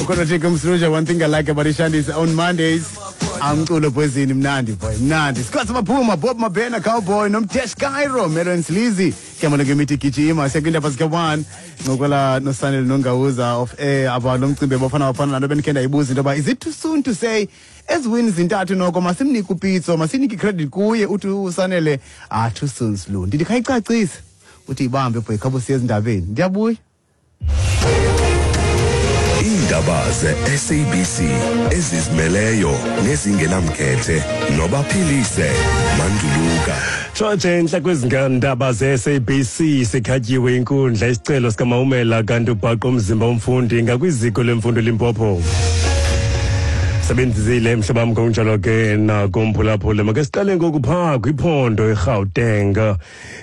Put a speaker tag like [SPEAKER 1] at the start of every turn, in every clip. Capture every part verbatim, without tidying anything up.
[SPEAKER 1] Ukhona Thixo Msuluja. One thing I like about Ishandi is on Mondays amculo poezini mnandi boy, mnandi. Scott Maphuma, Bob Mabena, Cowboy noMtesh Cairo, Melon Sleazy. Ke ngemithi gijima siyakwindaba zika one ncokola noSanele Nongawuza of air about lo mcimbi Bafana Bafana. Lanto bendikhe ndayibuza into yoba is it too soon to say ezi wins zintathu noko masimnike uPitso, masinike credit kuye? Uthi uSanele, ah, too soon slow. Ndithi khayicacise, uthi ibambe boy, khabo siye ezindabeni, ndiyabuya.
[SPEAKER 2] Iindaba ze-S A B C ezizimeleyo nezingenamkhethe nobaphilise Manduluka.
[SPEAKER 3] Tshotshe enhla kwezindaba ze-S A B C. Sikhatyiwe inkundla isicelo sikaMaumela, kanti ubhaqo umzimba womfundi ngakwiziko lemfundo Limpopo. Sebenzisile mhlobam, ngokunjalo ke nakumphulaphula. Make siqale ngoku phaa kwiphondo iRhawuteng.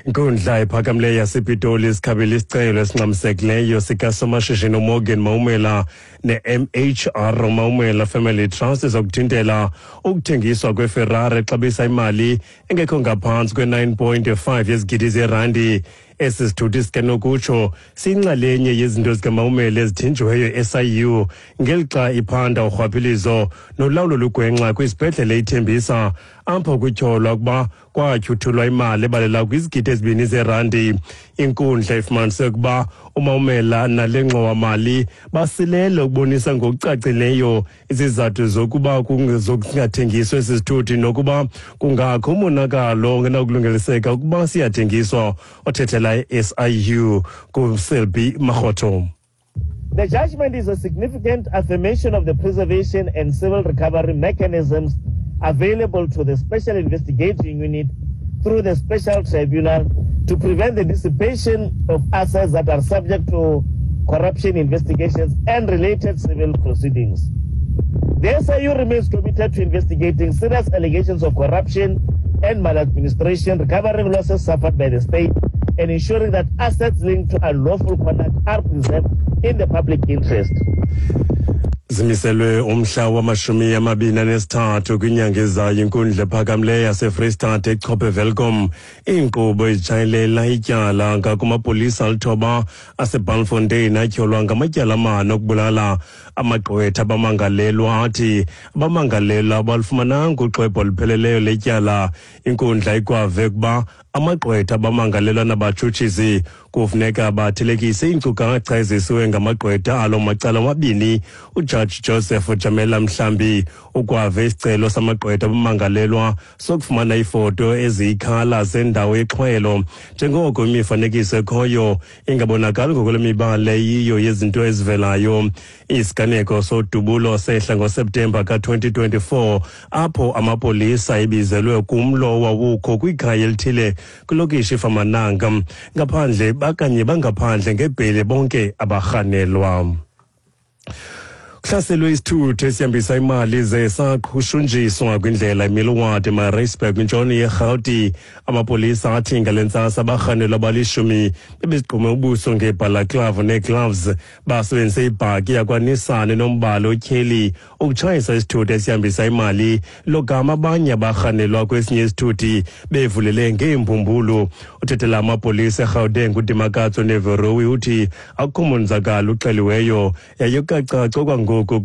[SPEAKER 3] Inkundla ephakamileyo yasePitoli sikhabile isicelo esingxamisekileyo sikasomashishini uMorgan Maumela ne-M H R Maumela Family Trust zokuthintela ukuthengiswa kweFerrari exabisa imali engekho ngaphantsi kwe-nine point five yezigidi zerandi. Esi sithuthi sikanokutsho siyinxalenye yezinto zikaMaumela ezithinjiweyo e-S I U ngelixa iphanda urhwaphilizo nolawulo lugwenxa kwisibhedlele iThembisa, apho kutyholwa ukuba kwatyhuthulwa imali ebalela kwizigidi ezibini zerandi. Inkundla ifumanise ukuba uMaumela nale ngxowa-mali basilele ukubonisa ngokucacileyo izizathu zokuba zokungathengiswa esi sithuthi nokuba kungakho umonakalo ongenakulungeliseka ukuba siyathengiswa. Othethela i-S I U kuSelby Makgotho.
[SPEAKER 4] The judgment is a significant affirmation of the preservation and civil recovery mechanisms available to the Special Investigating Unit through the Special Tribunal to prevent the dissipation of assets that are subject to corruption investigations and related civil proceedings. The S I U remains committed to investigating serious allegations of corruption and maladministration, recovering losses suffered by the state, and ensuring that assets linked to unlawful conduct are preserved in the public interest.
[SPEAKER 3] Zimiselwe umhla wamashumi amabini anesithathu kwinyanga ezayo inkundla ephakamileyo yaseFreystata echophe Welkom iinkqubo ezitshayelela ityala ngakumapolisa alithoba aseBalfontein atyholwa ngamatyala amane okubulala. Amagqwetha abamangalelwa athi abamangalelwa abalufumananga uxwebhu olupheleleyo letyala. Inkundla ikwave ukuba amagqwetha abamangalelwa nabatshutshisi kufuneka bathelekise iinkcukacha ezisiwe ngamagqwetha alo macala amabini. Ujaji Joseph Jamela Mhlambi ukwave isicelo samagqwetha abamangalelwa sokufumana iifoto eziyikhala zendawo yexhwelo, njengoko imifanekiso ekhoyo ingabonakali ngokwale mibala yiyo yezinto ezivelayo. Isiganeko sodubulo sehla ngoSeptemba ka-twenty twenty-four, apho amapolisa ebizelwe kumlo owawukho kwikhaya elithile kwilokishi iFamananga. Ngaphandle bakanye bangaphandle ngebhele bonke abarhanelwa. Kuhlaselwe isithuthi esihambisa imali ze saqhushunjiswa kwindlela iMilward eMaritzburg kwintshona yeRhawuti. Amapolisa athi ngale ntsasa abarhanelwa abalishumi bebezigqume ubuso ngeebhalaklava nee-gloves, basebenzise ibhaki yakwaNissan enombala otyheli ukutshayisa isithuthi esihambisa imali, logama abanye abarhanelwa kwesinye isithuthi bevulele ngeembumbulu. Uthethela amapolisa eGauteng uDimakatso Neverowi uthi akukho monzakalo uxeliweyo yaye kukacaca okwangoku.